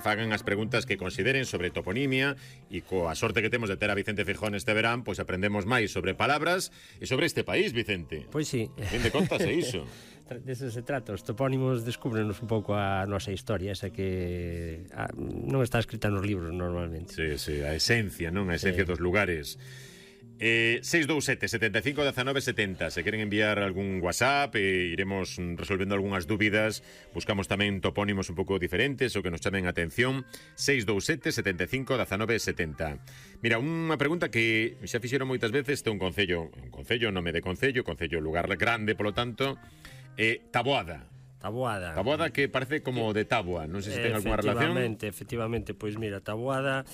fagan as preguntas que consideren sobre toponimia e coa sorte que temos de ter a Vicente Feijóo este verán, pois aprendemos máis sobre palabras e sobre este país, Vicente. Pois sí. Fin de contas é iso. Deso se trata, os topónimos descúbrenos un pouco a nosa historia, esa que non está escrita nos libros normalmente. Sí, a esencia, non? A esencia dos lugares. 627 75 19 70. Se queren enviar algún WhatsApp, iremos resolvendo algunhas dúbidas. Buscamos tamén topónimos un pouco diferentes o que nos chamen a atención. 627 75 19 70. Mira, unha pregunta que xa fixeron moitas veces. Este é un concello, nome de concello, lugar grande, polo tanto. Taboada. Taboada que parece como de táboa. Non sei se ten algunha relación. Efectivamente, pois mira, Taboada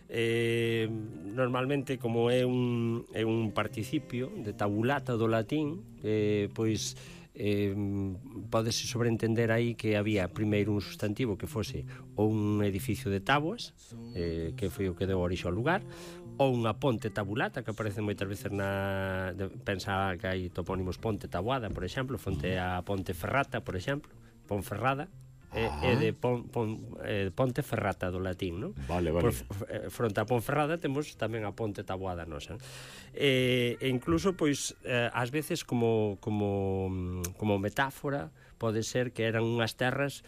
normalmente como é un participio de tabulata do latín, pois pódese sobreentender aí que había primeiro un sustantivo que fose ou un edificio de táboas, que foi o que deu orixe ao lugar, ou unha ponte tabulata que aparece moitas veces pensa que hai topónimos Ponte Taboada, por exemplo, fonte a Ponte Ferrata, por exemplo, Ponferrada. É de Ponte Ferrata do latín, non? Vale. Fronte a Ponferrada temos tamén a Ponte Taboada nosa. E incluso, pois, ás veces como metáfora pode ser que eran unhas terras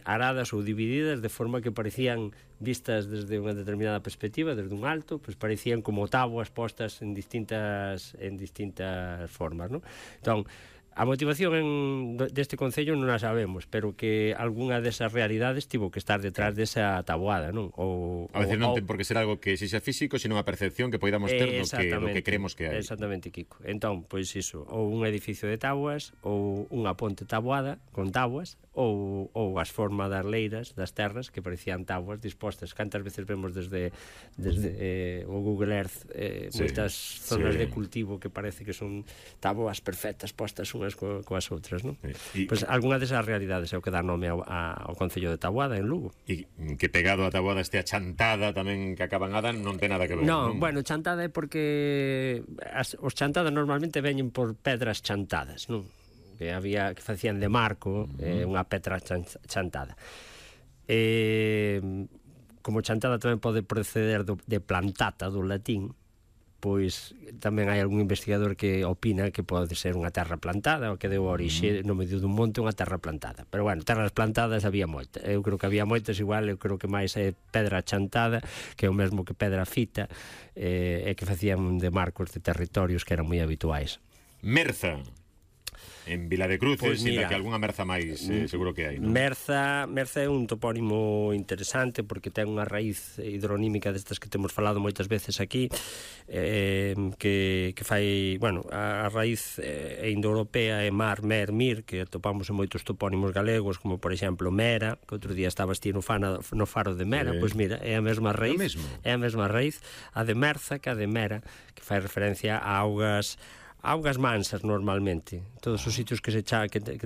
aradas ou divididas de forma que parecían vistas desde unha determinada perspectiva, desde un alto, pois parecían como táboas postas en distintas formas, non? Entón, a motivación deste concello non a sabemos, pero que algunha desas realidades tivo que estar detrás desa taboada, non? A veces non ten por que ser algo que sexa físico, sino unha percepción que poidamos ter do que creemos que hai. Exactamente, Kiko. Entón, pois iso, ou un edificio de táboas, ou unha ponte taboada con táboas, ou as formas das leiras, das terras, que parecían táboas dispostas. Cantas veces vemos desde o Google Earth moitas zonas de cultivo que parece que son táboas perfectas postas unhas coas outras, non? Pois algunha desas realidades é o que dá nome ao concello de Taboada en Lugo. E que pegado a Taboada este a Chantada tamén que acaban a dar non ten nada que ver, non? Bueno, Chantada é porque os chantadas normalmente veñen por pedras chantadas, non? Que facían de marco unha pedra chantada. Como chantada tamén pode proceder de plantata do latín, pois tamén hai algún investigador que opina que pode ser unha terra plantada ou que deu orixe no medio dun monte unha terra plantada. Pero bueno, terras plantadas había moitas. Eu creo que había moitas igual, eu creo que máis é pedra chantada, que é o mesmo que pedra fita, e que facían de marcos de territorios que eran moi habituais. Merza. En Vila de Cruces, pois mira, que algunha merza máis seguro que hai, non? Merza é un topónimo interesante porque ten unha raíz hidronímica destas que temos falado moitas veces aquí, que fai, bueno, a raíz indoeuropea é mar, mer, mir, que atopamos en moitos topónimos galegos, como por exemplo Mera, que outro día estabas ti no faro de Mera, pois mira, é a mesma raíz, a de Merza que a de Mera, que fai referencia a augas mansas normalmente. Todos os sitios que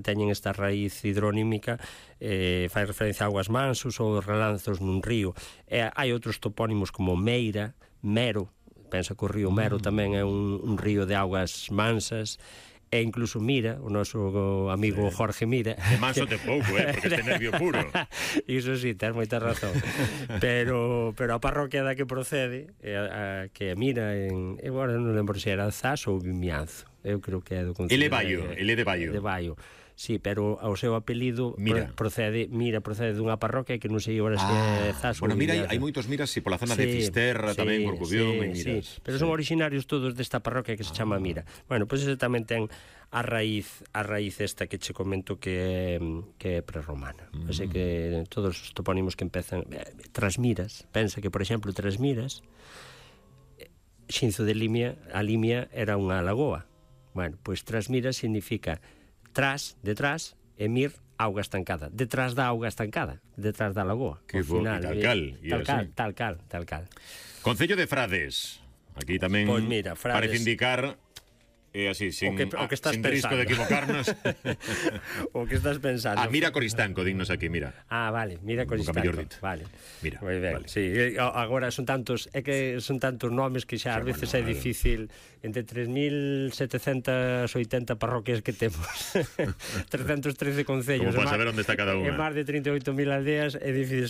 teñen esta raíz hidronímica fai referencia a augas mansos ou relanzos nun río. Hai outros topónimos como Meira, Mero, pensa que o río Mero tamén é un río de augas mansas, e incluso Mira, o noso amigo Jorge Mira. De manso te pouco, porque este nervio puro. Iso sí, tens moita razón. Pero a parroquia da que procede, que é Mira, agora non lembro se era Zas ou Vimianzo. Eu creo que é do concello. Ele de Baio. De Baio. Sí, pero o seu apelido procede dunha parroquia que non sei agora se é Zas ou Mira, hai moitos Miras pola zona de Fisterra, tamén Corcubión e Miras. Pero son originarios todos desta parroquia que se chama Mira. Bueno, pois ese tamén ten a raíz esta que che comento que é prerromana. Así que todos os topónimos que empezan Trasmiras, pensa que por exemplo Trasmiras, Xinzo de Limia, a Limia era unha lagoa. Bueno, pois Trasmiras significa detrás, e mir, auga estancada. Detrás da auga estancada, detrás da lagoa. Que bo, tal cal. Concello de Frades. Aquí tamén parece indicar así, sin que estás sin risco de equivocarnos. O que estás pensando. Mira Coristanco, dignos aquí, mira. Vale, mira Coristanco. Vale. Mira. Moi ben, vale. sí. Agora son tantos nomes que xa ás veces é difícil entre 3.780 parroquias que temos. 313 concellos. Como para saber onde está cada unha. E máis de 38.000 aldeas é difícil